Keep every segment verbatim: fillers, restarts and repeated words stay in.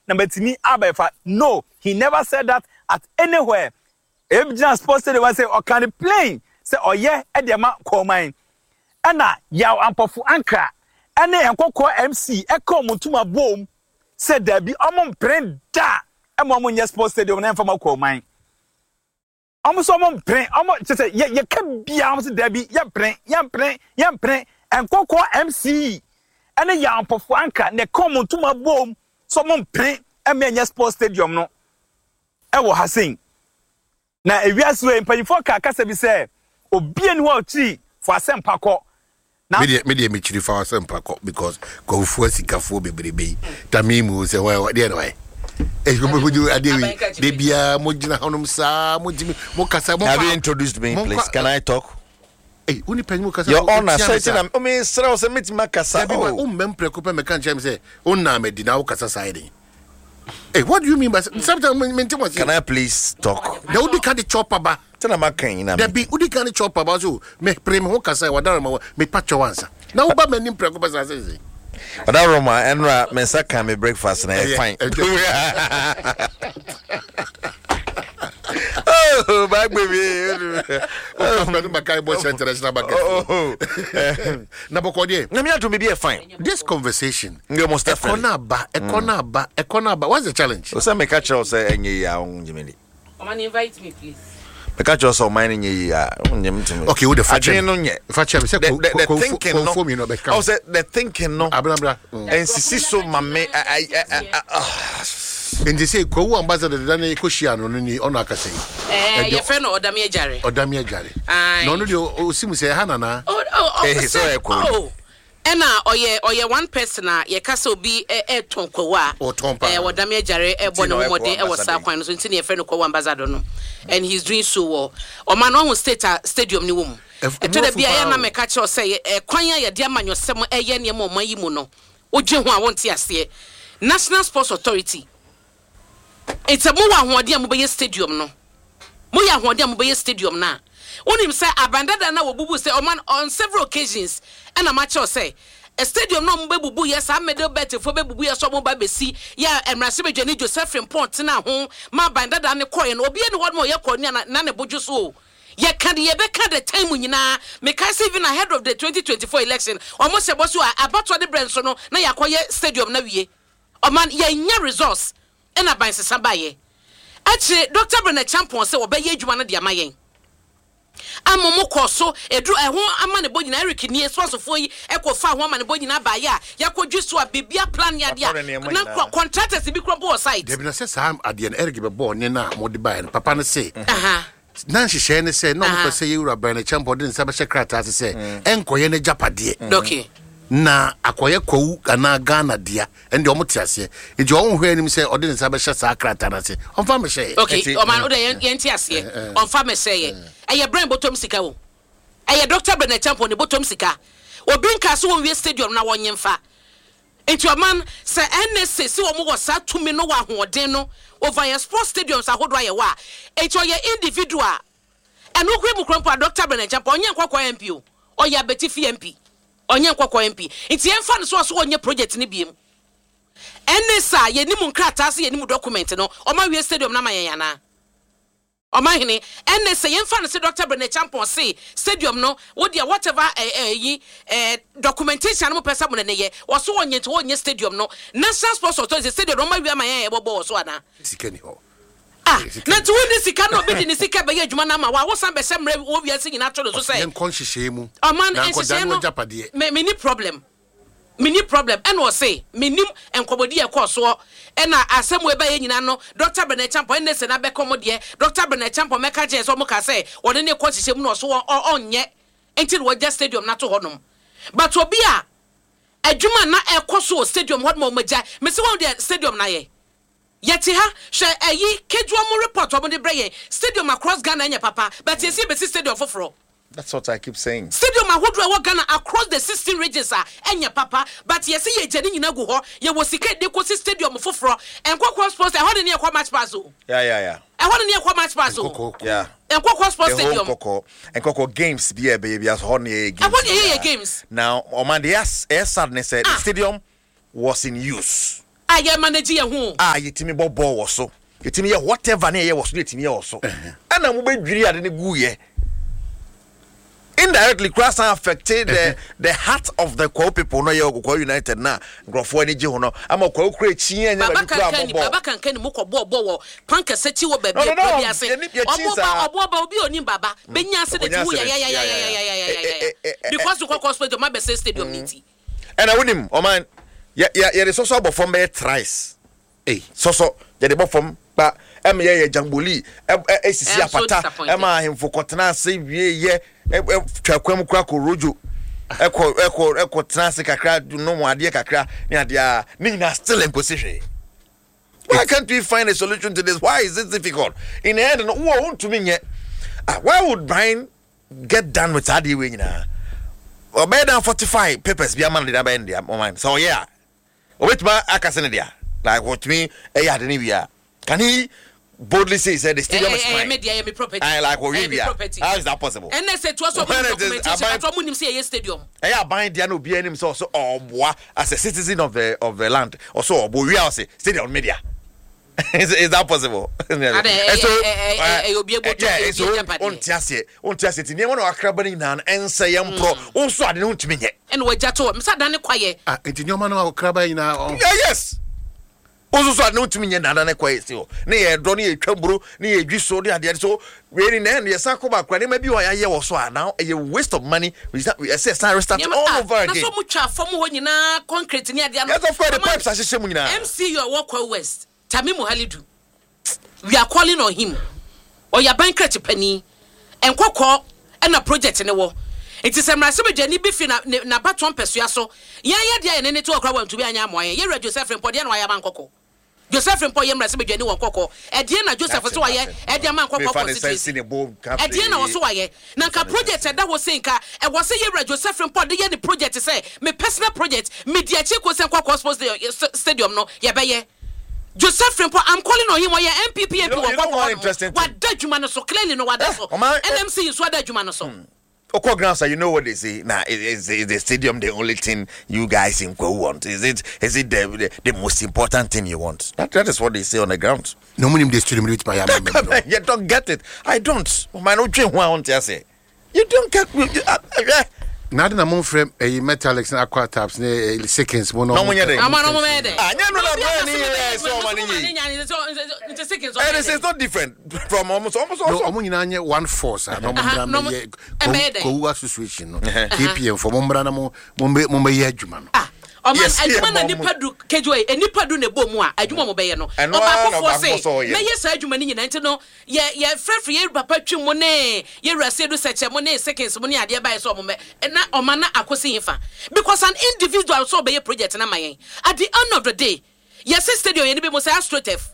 na matumi abɛfa. No, he never said that at anywhere. Ebi sports stadium sɛ ɔka ne plain sɛ ɔyɛ ɛde ama Kwahuman. Ɛna Yaw Ampɔfo Ankra ɛne Nkɔkɔɔ M C ɛka ɔmo ntoma bom sɛ dabi, ɔmo mpere da ɛma ɔmo nyɛ sports stadium na ɛmfa ma Kwahuman. Ɔmo nso ɔmo mpere, ɔmo kyerɛ sɛ yɛ yɛka bia, ɔmo sɛ dabi, yɛmpere, yɛmpere, yɛmpere. Nkɔkɔɔ M C ɛne Yaw Ampɔfo Ankra na ɛka ɔmo ntoma bom sɛ ɔmo mpere ɛma ɛnyɛ sports stadium no ɛwɔ ha sei. Na ewiase wei, mpanyinfoɔ ka kasa bi sɛ obi ani hɔ a ɔkyiri fo asɛmpa kɔ na medeɛ medeɛ mekyiri fa asɛmpa kɔ because kɔfuo asikafoɔ bebrebe yi tame mu sɛ wɔ deɛ na wayɛ adeɛ wei de biara mogyina hɔnom saa, motumi mokasa. Have you introduced me, please? Can I talk? Hey, wo nipa mu kasa. Your Honor, sɛ ti na omi srɛ wo sɛ metumi akasa. Dabi ba Oh. wommɛ mprɛko pɛ mɛka nkyerɛ me sɛ wonnaa madi na wokasa saa yɛ den. Hey, what do you mean by sometimes mente mo? Can I please talk? Na wodi ka de chopper ba. Tena maka yi na. Dabi, wodi ka de chopper ba so me pere me ho kasa wadara ma me pa kyɛw ansa na woba m'anim prɛko pɛ saa sɛ sɛ Ɔda Roma ɛnura me nsa ka me breakfast na ɛyɛ Ɛyɛ, fine. Oh, back baby. Wokasa maka bɔ hyɛ international market. Oh. Na bɔkɔ deɛ. Na me ato me bi yɛ fine. This conversation Yeah, most ɛkɔ definitely. na aba, ɛkɔ na aba, ɛkɔ na aba, what's the challenge? O sɛ meka kyerɛ wo sɛ ɛnyɛ yie a, wongye me di. Oman, invite me, please. Meka kyerɛ wo sɛ ɔman no nyɛ yie a, wongye me tumi. Okay, wo de fa kyɛ Adwene me. no nyɛ. Fa kyɛ me sɛ The, the, the ko- ko- thinking no. kɔnfo mi no bɛka. Oh, sɛ the thinking no. Abrabra mm. Ɛnsisi so ma me. I, I, I, I, ah. Nti sɛ Kwawu ambassador deda ne kɔhyia no no ni ɔno akasa yi. Eh, Ɛdeɛ- your friend Odami Ejare. Ɔdame adware. Aye. Na ɔno deɛ ɔsi mu sɛ ɛha nanaa. Oh, oh, oh, Eh, sɛ- so ɛyɛ Kwawu. oh. Ɛna ɔyɛ ɔyɛ one person a yɛka sɛ obi ɛ- ɛtɔn Kwawu a Ɔtɔn paa. ɛɛ Wɔdame Agyare ɛbɔ Nti ne na ho ɔyɛ mmɔden Kwawu ɛwɔ saa ambassador. kwan no so, nti na yɛfrɛ no Kwawu ambassador no, and he's doing so well. Ɔma no ɔho state a stadium ne wɔ mu. Ɛf- Ɛtɔ da ɛmu bi a afu ɛyɛ paa na o. mɛka kyerɛw sɛ yɛ- ɛkwan a yɛde amanyɔsɛm ɛyɛ nneɛma ɔman yi mu no, wogye ho a wonte aseɛ. National Sports Authority, nti mowɔ ahoɔden a mobɛyɛ stadium no, moyɛ ahoɔden a mobɛyɛ stadium no a, wonim sɛ abandada no a wɔbubu sɛ ɔman on several occasions, ɛna makyerɛw sɛ ɛ stadium no a mobɛbubu yɛ saa middle belt foɔ bɛbubu yɛ sɛ ɔmo ba bɛsi yɛ a mmarahyɛbadwani Joseph Frimpong tena ho ma abandada ne kɔɛ no, obiara ne hɔ nom a ɔyɛ kɔni a na- na ne bodwo so o. Yɛka de yɛbɛka the time nyinaa. Mekae sɛ even ahead of the twenty twenty-four election, ɔmo hyɛ bɔ so a abatoɔ de brɛ nso no na yɛakɔyɛ stadium na wie. Ɔman yɛnya resource ɛna ban sesa baayɛ akyire. Doctor Brenda Champon sɛ wɔbɛyɛ adwuma no de ama yɛn ama mo kɔ so eduru ɛho ama ne bɔ nyinaa. Eric nie sɔsofoɔ yi ɛkɔ fa ho ama ne bɔ nyinaa baayɛ a yɛakɔdwi so a biribia plan yɛ Watɔre adeɛ a nneɛma na nyinaa. contractors bi kura bɔ wɔ site. Dabi, na sɛ saa adeɛ no Eric bɛbɔɔ ne no a mode baeɛ no, papa no se Aha. na nhyehyɛeɛ ne sɛ na ɔmopɛ Aha. sɛ yɛwura Bryan Acheampong de ne nsa bɛhyɛ krataa ase sɛ ɛnkɔyɛ no agyapadeɛ okay na akɔyɛ Kwawu anaa Ghana dea. Ɛnde ɔmo te aseɛ nti ɔmo hwɛ anim sɛ ɔde ne nsa bɛhyɛ saa krataa no ase, ɔmfa mehyɛeɛ. Okay. Nti- Ɔman o de yɛn yɛn ti aseɛ, ɔnfa mɛsɛ yɛ ɛyɛ Bryan bɔtɔm sika o, ɛyɛ Doctor Bryan Acheampong ne bɔtɔm sika. Obi nka so wɔn wie stadium na wɔn nyɛmfa. Nti ɔman sɛ N S A si wɔn wɔ saa tumi no wɔ ahoɔden no over yɛn sports stadiums ahodoɔ ayɛ wɔ a, nti ɔyɛ individual. Ɛno kura mu kura mpo a, Doctor Bryan Acheampong ɔnyɛ Nkɔkɔ M P o, ɔyɛ Abetifi M P, ɔnyɛ Nkɔkɔ M P. Nti yɛmfa no so ɔso ɔnyɛ project ne biem. N S A yɛnim nkrataa sɛ yɛnim document no, ɔma wie stadium no ama yɛn anaa? Ɔmahene, ɛnɛ sɛ yɛmfa no sɛ Doctor Bryan Acheampong se stadium no wodeɛ whatever ɛyi eh, documentation no mopɛ sɛ mo ne ne yɛ, ɔso wɔnyɛ, nti wɔnyɛ stadium no. National Sports Authority stadium no ɔma wie ama yɛn a yɛbɔbɔ wɔ so anaa? Sika ni hɔ. Ah, Sika na ni nti wonni sika na obi de ne sika bɛyɛ adwuma no ama wa, wosan bɛhyɛ mmerɛ wɔ wiase nyinaa to no so sɛ yɛnkɔ nhyehyɛeɛ mu ɔman na nkɔda nhyehyɛeɛ no no agyapadeɛ. Me me ni problem, me ni problem. Ɛna ɔse menim nkɔmmɔdi yɛ kɔɔ soɔ ɛna asɛm wo ɛbɛyɛ nyinaa no, Doctor Bryan Acheampong ɛnɛ sɛ n'abɛkɔ mo deɛ Doctor Bryan Acheampong mɛka kyerɛ sɛ ɔmo ka sɛ ɔne ne kɔ hyehyɛ mu na ɔso ɔ- ɔnyɛ nti na wɔgya stadium n'ato hɔnom. But obi a adwuma na ɛkɔ so wɔ stadium hɔ nom a ɔmo agya mesi wɔn deɛ stadium na yɛ yɛte ha hwɛ ɛyi kejuwa mu report ɔmo de brɛ yɛn, stadium across Ghana ɛnyɛ papa, but yɛsi ebesi stadium foforɔ. That's what I keep saying. Stadium ahodoɔ ɛwɔ Ghana across the sixteen regions a ɛnyɛ papa, but yɛsi yɛ gya ne nyinaa gu hɔ, yɛwɔ sika de kɔsi stadium foforɔ. Nkɔkɔ sports ɛhɔ de ne yɛkɔ match pass o. Yeah, yeah, yeah. Ɛhɔ de ne yɛkɔ match pass o. Nkɔkɔ. Yeah. Nkɔkɔ sports The whole stadium. Nkɔkɔ, Nkɔkɔ games bi a ɛbɛyɛ bi aso hɔ ne yɛyɛ games. Ɛhɔ ne yɛyɛ biara. Games. Now, ɔman de ɛyɛ sad ne sɛ the Ah. stadium was in use. A yɛ manage yɛn ho. A yɛtumi bɔ bɔɔl wɔ so, yɛtumi yɛ whatever ne yɛyɛ wɔ so ne yɛtumi yɛ wɔ so, ɛna mobɛdwiri ade no guyɛ indirectly kura san affected the the heart of the Kwahu people no. Yɛ Kwahu United na nkurɔfoɔ ani gye ho no ama Kwahu kura ekyi yɛn nyɛ Baba baabi kura Kankan ni abɔ bɔɔl. Baba Kankan ni mu kɔ bɔɔ bɔɔ wɔ pankɛsɛ kyi wɔ baabi No, no, no, ekura bi ase. yɛni- yɛkyi Ɔmo ba saa. ɔbo ba obi onim baba benya accident Ɔkɔnya wu accident. ya ya ya Yeah, ya yeah, ya ya ya yeah. ya ya Eh, eh, eh, eh, because Nkawkaw stadium abɛsɛ stadium ne ti. Ɛna wonim ɔman yɛ yɛ yɛde sɔsɔ abɔ fam bɛyɛ thrice. Ei. Sɔsɔ yɛde bɔ fam kpa ɛma yɛyɛ jamboli ɛ ɛ esisi I'm so apata disappointed. Ɛma ahemfo kɔtena ase wie yɛ ɛ ɛ twa kwan mu kura kɔ rojo ɛkɔ ɛkɔ ɛkɔ tena ase kakra, nom adeɛ kakra ne adeɛ a ne nyinaa still nkosi hwee. Why can't we find a solution to this? Why is it difficult? In the end no, wo ntumi nyɛ. Ah, why would Brian get done with saa adeɛ wei nyinaa? Ɔbɛyɛ dan forty five papers bi ama no de abɛyɛ no deɛ. Ɔman sɛ ɔyɛ a, ɔbɛtumi aka sɛ ne deɛ, like wɔtumi ɛyɛ ade ne wie a, can he boldly say say the stadium is Ɛyɛ mine? Me deɛ, ɛyɛ me property. I like wɔwie Ɛyɛ me wie a, property. how is that possible? Ɛnɛ sɛ toa so ɔmo When nim it is documentation aban- but ɔmo nim sɛ yɛyɛ stadium. Ɛyɛ aban deɛ na obiara anim sɛ ɔsɛ ɔboa as a citizen of the of the land, ɔsɛ ɔbɔ wie a, ɔsɛ stadium media. is, is that possible? Ade, ɛyɛ- ɛyɛ- ɛyɛ- ɛyɛ obi ebo yeah, tɔ, so obi agyapadeɛ. wonte aseɛ, wonte aseɛ. Ti nneɛma na wakraba no nyinaa no ɛnsɛ yɛ mporɔ wo nso ade no wontumi nyɛ. Ɛna wagya to hɔ mesa da ne kwayɛ. Ah, nti nneɛma no a ɔkraba nyinaa ɔ- Yeah, yes, wo nso so ade no wontumi nyɛ nada ne kɔ yɛ si hɔ ne yɛ dɔ ne yɛ twa mburo ne yɛ dwi so ne adeɛ so wei ni na ɛno yɛsan kɔ baako a nneɛma bi wɔ a yɛayɛ wɔ so a now ɛyɛ waste of money. We start- ɛsɛ yɛsan restart Nneɛma- all ah, over na again. so ɔmo twa fam hɔ nyinaa concrete ne adeɛ no. Yes, of course, the Ɔma- pipes ahyehyɛ mu nyinaa. M C U a ɛwɔ Kwahu West, Tamimu Halidu, we are calling on him. Ɔyɛ aban krakye panin nkɔkɔɔ ɛna project ne wɔ nti sɛ mmarahyɛbadwani bi fi na- ne- n'abatoɔ mpɛsua so yɛn yɛ deɛ yɛne ne te wɔ kora wantumi anyɛ amoa yɛn. Yɛwura Joseph Mpɔ deɛ na wayɛ ama Nkɔkɔ. Joseph Mpɔ yɛ mmarahyɛbadwani wɔ Nkɔkɔ, ɛdeɛ na Joseph so wayɛ ɛde ama Nkɔkɔ constituency? Ɛdeɛ na wɔso wayɛ na nka project ɛda hɔ sei nka ɛwɔ sɛ yɛwura Joseph Mpɔ de yɛ ne project sɛ me personal project medi akyi ko sɛ Nkɔkɔ sports stadium no yɛbɛyɛ. Joseph Frimpong, I'm calling on him. Ɔyɛ N P P M P You know- wɔ you know one Nkɔkɔ. Interesting thing? Wada adwuma no so clearly no, wada so. Ɔman- eh, N M C nso ada adwuma no so. Oko grounds, you know what they say now? Is, is, is the stadium the only thing you guys in Kwahu want? Is it is it the, the, the most important thing you want? That, that is what they say on the ground. Na ɔmo nim de stadium no bɛtumi ayɛ ama me no. You don't get it. I don't. Man, you don't get. You, you, uh, uh, Na ade na momfrɛ ɛyi Metallics ne Aquatabs ne ɛyi Seconds mo na Na ɔmo ɔmo nyɛ dɛn? Ama no mo bɛyɛ dɛ. Ah, nyɛ no na Obi Brian aka sɛ yɛ mebɛyɛ sɛ ɔma ne adwuma, yie. nso mo ma ne nya, nti Seconds And ɔbɛyɛ it's, dɛ. it's not different from almost almost No, also. ɔmo nyinaa nyɛ one force a na ɔmo Aha, mmra na ɔmo- mmɛyɛ ɛbɛyɛ dɛn? Kwahu association no, K P M fo mo mmra na mo mo mbɛ- mo mbɛyɛ adwuma no. Ah, ɔman Yes, adwuma na yeah, nipa du kejuwa yi nipa du na ɛbɔ mu a adwuma mo bɛyɛ no. Ɛno ara na ɔbaakofoɔ ɔbaako se sɛ ɔyɛ. mɛyɛ saa adwuma no nyinaa nti no yɛ yɛ frɛfrɛ yɛ papa twi mu ne yɛwura sedu sɛkyɛ mu ne Seconds mu ne adeɛ baayɛ sɛ ɔmo bɛ na ɔma na akosi hin fa because an individual sɛ ɔbɛyɛ project na ma yɛn. At the end of the day, yɛsɛ stadium yɛn ni bi mo sɛ AstroTurf.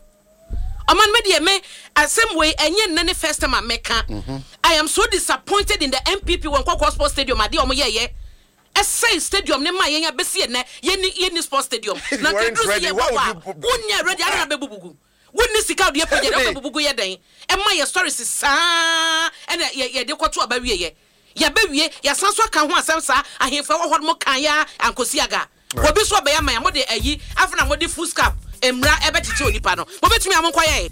Ɔman mi deɛ me asɛm wei ɛnyɛ nnɛ ne first time a mɛka. I am so disappointed in the N P P wɔ Nkɔkɔ sports stadium. Adeɛ ɔmo yɛyɛ ɛsɛn stadium ne ma yɛn abɛsi yɛn nɛ yɛni yɛni sports stadium na Weren't nkɛduru si ready, yɛ why bɔ would a you put- wonyɛ ready ara na bɛbubugu wonni sika ɔde yɛ project Hey. ɔbɛ bubugu yɛ dɛn ɛma yɛ stories saa ɛna yɛ yɛde kɔto aba wie yɛ yɛbɛwie yɛsan so aka ho asɛm saa. Ahemfo ɛwɔ hɔ no mo kan ya ankosi aga obi so ɔbɛyɛ ama yɛ mo de ayi afei na mo de foolscap mmira ɛbɛkyekyɛ onipa no mobɛtumi a monkɔyɛ.